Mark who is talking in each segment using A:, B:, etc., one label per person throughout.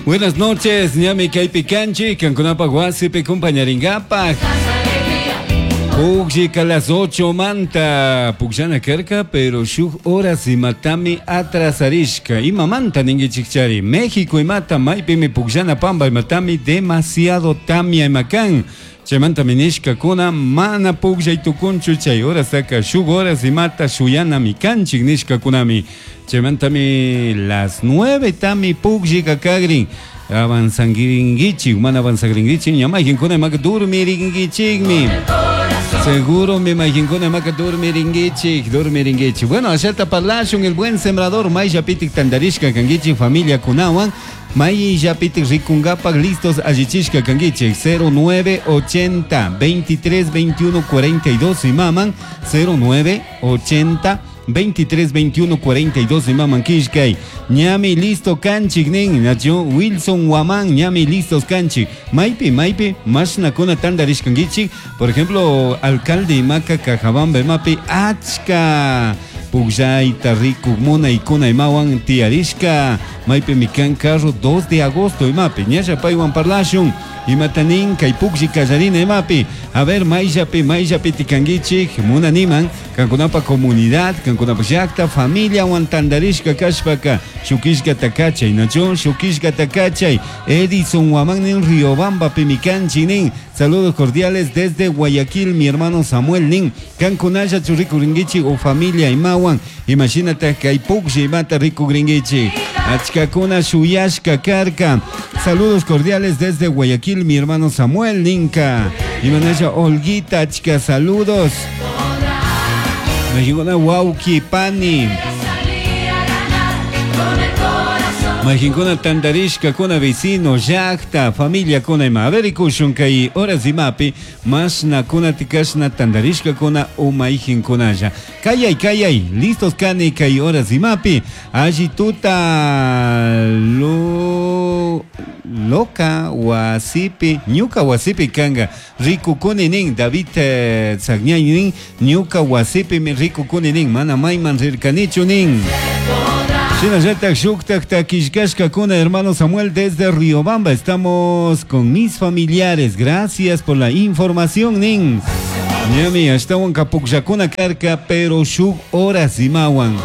A: Buenas noches, ñami kaypi kanchik, kankunapaj wasipi kumpañaringapaj. Pukllika las 8 manta pukllana karka, pero shuk horas imatami atrasarishka. Imamanta ninkichikchari? México imata maypimi pukllana pamba imatami demasiado tamia ima kan. Chaymantami nishkakuna mana pukllay tukunchu chay horastaka shuk horas imata shuyanami kanchik nishkakunami. Chaymantami las 9 tami pukllika kagrin. Avanzanguiringuichik, mana avanzagringuichik, ña mayqinkuna imaka durmiringuichikmi. Seguro mi mayqinkuna imaka durmiringuichik, durmiringuichik. Bueno, ashata parlashun el buen sembrador mayllapitik tantarishka kanguichik familiakunawan. Mayllapitik rikungapak listos allichishka kanguichik 0980 23 21 42 imaman 0980 23 21 42 imaman kishkay ñami listo kanchik nin nacho Wilson Waman ñami listos kanchik maypi maypi mashnakuna tantarishkankichik por ejemplo alcalde imaka Cajabamba imapi achka pukllayta rikuk munaykuna imawan tiyarishka maypimi kan carro 2 de agosto imapi ñalla paywan parlashun imata nin kay puklli kallarina imapi a ver mayllapi mayllapi tikankichik munaniman kankunapa comunidad kankunapa llakta familiawan tantarishka kashpaka shukishkata kachay nacho shukishkata kachay Edison Waman nin Riobamba kanchik nin saludos cordiales desde Guayaquil mi hermano Samuel nin kankunalla rikurinkichik o familia imawan imashinata kay puklli imata rikukrinkichik achkakuna shuyashka karka saludos cordiales desde Guayaquil mi hermano Samuel ninka imanalla Olguita achka saludos Mayqinkuna wawki pani Mayqinkuna tantarishkakuna vecino llakta familiakuna ima a ver rikushun kay horas imapi mashnakuna tikashna tantarishkakuna o mayqinkunalla kayay kayay listos kani kay horas imapi alli tuta lo loca wasipi ñuka wasipi kanka rikukuni nin David Sagñay nin ñuka wasipimi rikukuni nin mana mayman rirkanichu nin Shinallatak shuktak takishkashkakuna hermano Samuel desde Riobamba estamos con mis familiares gracias por la información nin ñami ashtawan kapukllakuna karka pero shuk horas imawan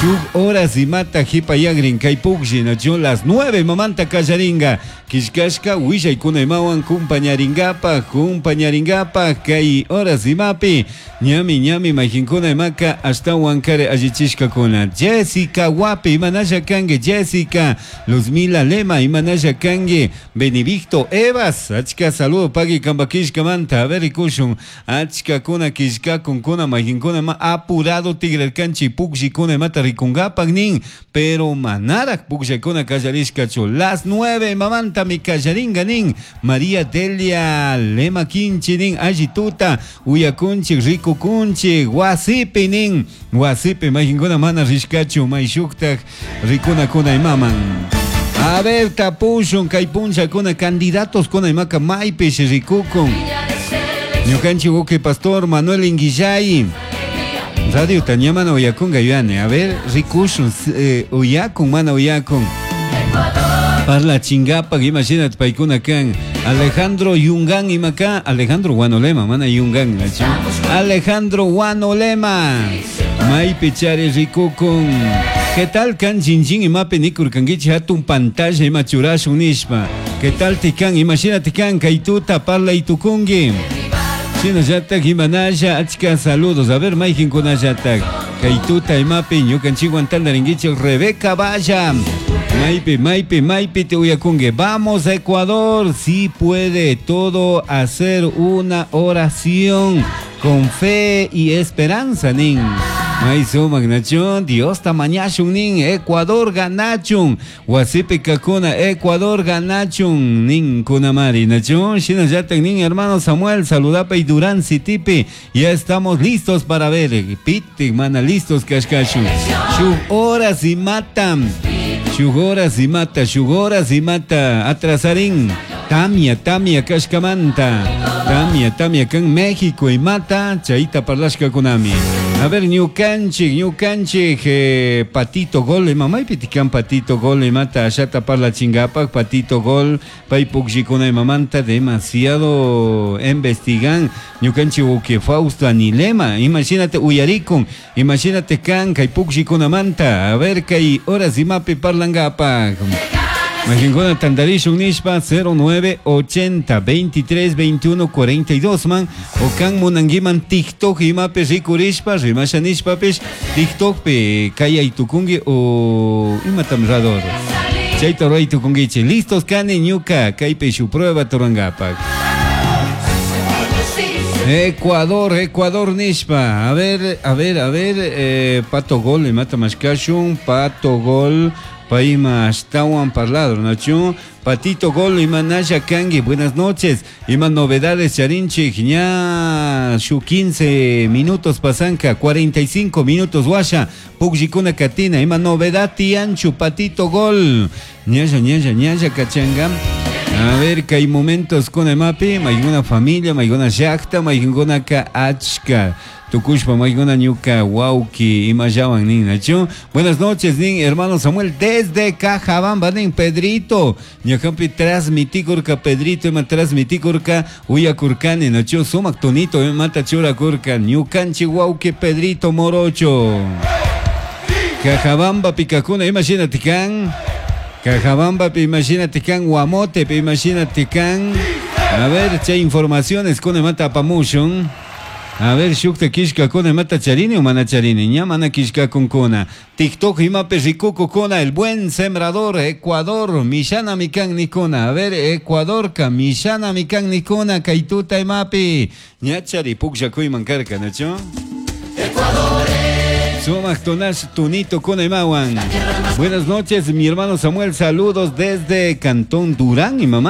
A: shuk horas imata hipayagrin kay puklli nacho las 9 mamanta kallaringa kishkashka willaykuna imawan kumpañaringapaj kumpañaringapaj kay horas imapi ñami ñami mayqinkuna imaka ashtawan kare allichishkakuna Jessica Wapi imanalla kanki Jessica Luzmila Lema imanalla kanki Benedicto Evas achka saludo pagui kambakishkamanta a ver rikushun achkakuna kishkakunkuna mayqinkuna ima apurado tigrarkanchik pukllikuna imata rikunkapak nin pero manarak pukllakuna kallarishkachu las 9 mamanta mi kallaringa nin María Delia Lema Kinchi nin alli tuta uyakunchik rikukunchik wasipi nin wasipi mayqinkuna mana rishkachu mayshuktak rikunakuna imaman a ver tapushun kay punllakuna candidatos kuna imaka maypish rikukun ñukanchik uki pastor Manuel Inguillay Radio ña mana uyakunga yuyani a ver rikushun uyakun mana uyakun parla chingapak imashinat paykuna kan Alejandro Yungan imaka Alejandro Guanolema mana Yungan nachu Alejandro Guanolema maypi chari rikukun ¿Qué tal kan chinchín imapi nikurkankichik hatun pantalla ima churashun nishpa ¿Qué tal tikan imashinati kan kay tuta parlay tukunki Shinallatak imanalla achka saludos a ver mayqinkunallatak kay tuta imapi ñukanchikwan tantarinkichik Rebeca Valla maypi maypi maypi te uyakunki vamos Ecuador sí puede todo hacer una oración con fe y esperanza nin may sumak nachun Diosta mañashun nin Ecuador ganachun wasipi kakuna Ecuador ganachun nin kunamari nachun shinallatak nin hermano Samuel saludapay Durán Citipi ya estamos listos para ver pitik mana listos kashkashun shuk horas imatan shuk horas imata shuk horas imata atrasarin tamia tamia kashkamanta tamia tamia kan México imata chayta parlashkakunami. A ver, ñukanchik, ñukanchik, Patito Gol, ima maypi tikan Patito Gol, imata ashata parlachingapak, Patito Gol, pay pukllikuna imamanta demasiado investigan, ñukanchik uke Fausto Anilema, imagínate uyarikun, imagínate kan kay pukllikunamanta, a ver kay horas imapi parlangapak. Majinkuna tandarishun nishpa 0980 23 21 42 man o kan munanguiman TikTok imapi rikurishpa rimasha nishpapish TikTokpi kayay tukungi o imatam rador chayta ruray tukungichik listos kani ñuka kaypi shu prueba turangapak. Ecuador, Ecuador nishpa. A ver, a ver, a ver, Pato Gol, imata mashkashun, Pato Gol, payma ashtawan parlado, nachu? Patito Gol, ima nasha kangi, buenas noches. Ima novedades charinchik, ña shu 15 minutos pasanka, 45 minutos washa, pukllikuna katina, ima novedad tianchu, Patito Gol. Ñalla, ñalla, ñalla kachanga. A ver, que hay momentos con emapi, mayguna familia, mayguna llaqta, mayguna ka achka. Tukushpa, mayguna ñuka, wauki, imayawan nin, nachu. Buenas noches, nin, hermano Samuel, desde Cajabamba, nin, Pedrito. Ñakampi transmitikurka, Pedrito, ima transmitikurka, uyakurkani, nachu, sumak tonito, imata churakurka, ñukanchi wauki, Pedrito Morocho. Cajabamba, pikakuna, imagínate kan. Cajabamba, imagínate kan, Guamote, imagínate kan. A ver, che informaciones con mata pamushun. A ver, shukta kishka con mata charini o mana charini, ña mana kishka con kona. TikTok imape rikuku kona, el buen sembrador, Ecuador, Mishana mikan nikona. A ver, Ecuador ka, Mishana mikan nikona, kaituta imapi. Ña chari puklla kuyman karka, ¿no?
B: Ecuador.
A: Sumak Tonash Tunito con Emawan. Buenas noches, mi hermano Samuel. Saludos desde Cantón Durán y mamá.